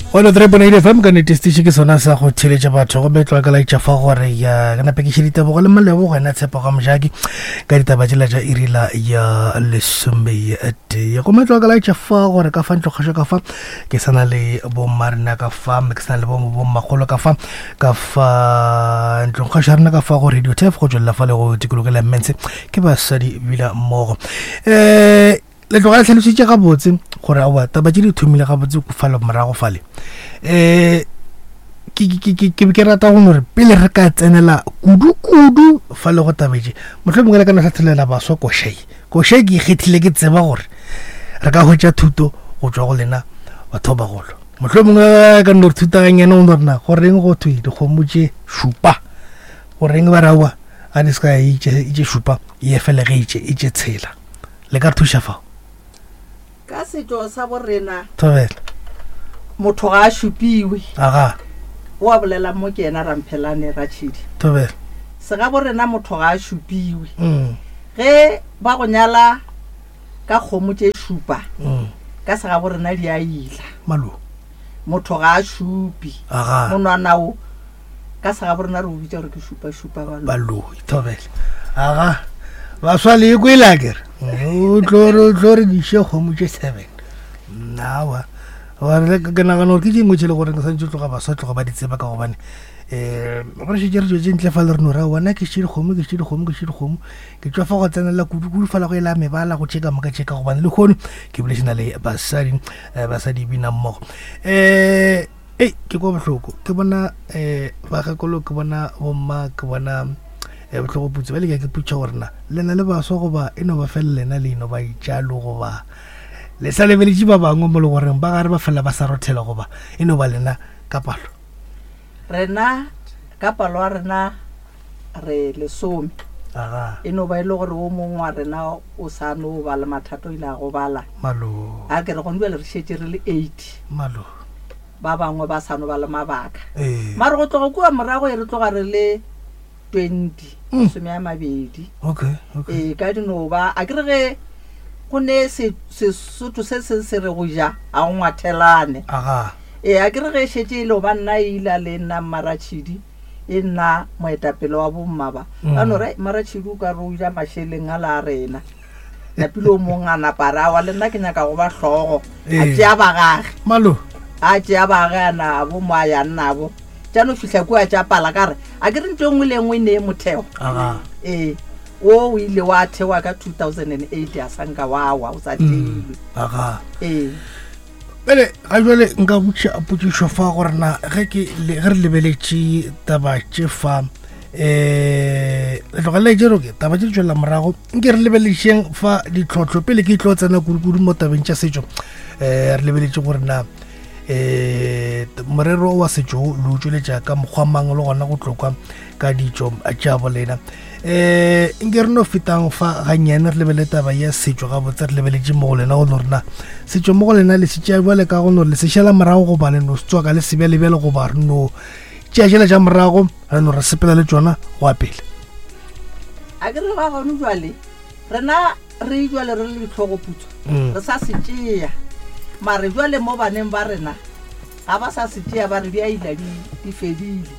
103.8 FM ka nnete setiši ke sona sa go theletša batho gomme tloga ka laetša fa gore ya ke nape ke še ditebogo le malebo go ena tshepo ga mojaki ka ditaba tšela tša irila ya lesometee gomme tloga ka laetša fa gore ka fa ntlokgašo ka fa ke sana le bommarena ka fa mme ke sana le bommakgolo ka fa ka fa ntlongkgašo ya rena ka fa go radio tef go tswelela fa le go tikologela mmense ke basadi bila mmogo um le tloga le tlhalositše gabotse gore aowa taba tše di thomile gabotse fale morago fale um ke be ke rata go gore pele re ka tsenela kudu-kudu fa le go tabetše motlho mongwe le ka no hlathelela baswa košai košai ke ikgethile ke tseba gore re ka hwetša thuto go tšwa go lena batho ba bagolo motlho mongwe ka no re thutaganyane go no rena goreng go thwe dikgomo tše šupa goreng ba raowa a di se ka itše šupa e fele ge itše itše tshela le ka re thuša fao ka setšo sa borena thobela motho ga a šupiwe aga o a bolela mo ke yena ramphelane ratšhidi thobela sega borena motho ga a šupiwe mm. ge ba go nyala ka kgomo tše šupa mm. ka sega borena di a ila malo motho ga a šupi aga monwana o ka segabo rena re o bitša gore ke šupa-šupa baloi. Baloi, thobela. Aga, baswa le kwele a kere. O tlo re o tlo re diše kgomo tše seven. Nnawa. Gore ke nagana gore ke dingwe tše le gore ke santse tloga baswa tloga ba di tseba ka gobane um gore šetše re tšwetše ntle fa le re no ra bona ke še dikgomo ke še dikgomo ke še dikgomo ke tšwa fa go tsenela kudu-kudu fela go e la mebala go tše ka moka tše ka gobane le kgono ke bolešana le basadi eh, basadi bina mmogo um Ei, ke kwa bohloko ke bona um bakgekolo ke bona bomma ke bona um bohlogoputsi ba leka ke putša gore na lena le baswa goba e no ba fela lena le ino ba itšalo goba le sa lebeletše ba bangwe mo le goreng ba gare ba fela ba sa rothela goba e no ba lena ka palo Rena ka palo ya rena re lesome. Aga. E no ba e le gore o mongwe wa rena o sa no ba le mathata o ile a gobala. Malo. A ke re gone bjale re šetše re le 80. Malo. Ba bangwe ba sa no ba le mabaka. Ee. Mare go tloga kua morago e re tloga re le 20, Mm. masome a mabedi. Okay, okay. Ee, ka di no ba a ke re ge go ne se Sesotho se seng se re go ja a go ngwathelane. Aga. Ee, a ke re ge e šetše e le go ba nna e ile le nna Mmaratšhidi e nna moetapele wa bomma ba ba no re Mmaratšhidi o ka re o ja mašeleng a la a rena. Napile o mong a napa a re awa le nna ke nyaka go ba hlogo a Ee. tšea ba gage. Malo. A tšea ba gage a nabo mo a yang nabo tša no fihla kua tša pala ka re a ke re ntho e nngwe le e nngwe e nee motheo. Aga. Ee, wo o ile wa thewa ka 2008 a sa nka wa wa o sa theilwe. Aga. Ee. Bjale ga jwale nka botša potšišo fa gore na ge ke ge re lebeletše taba tše fa um le tlogelela tše roke taba tše di tšwelela morago nke re lebeletšeng fa ditlhohlo pele ke tlo tsena kudukudu mo tabeng tša setšo um re lebeletše gore na um morero wa setšo le o tšweletša ka mokgwa mang le gona go tlokwa ka ditšo tša bolena um nke re no fetang fa gannyane re lebele taba ya setšo gabotse re lebeletše mo go lena go no rena setšo mo go lena le se tšea bjale ka go no le se šala morago goba le no se tswaka le sebjalebjale goba re no tšea tšela tša morago re no re sepela le tšona go ya pele a ke re ba gone jwale rena re jwale re le ditlhogoputswa Mm. re sa se tšea mare jwale mo baneng ba rena ga ba sa se tšea ba re di a ila di di fedile.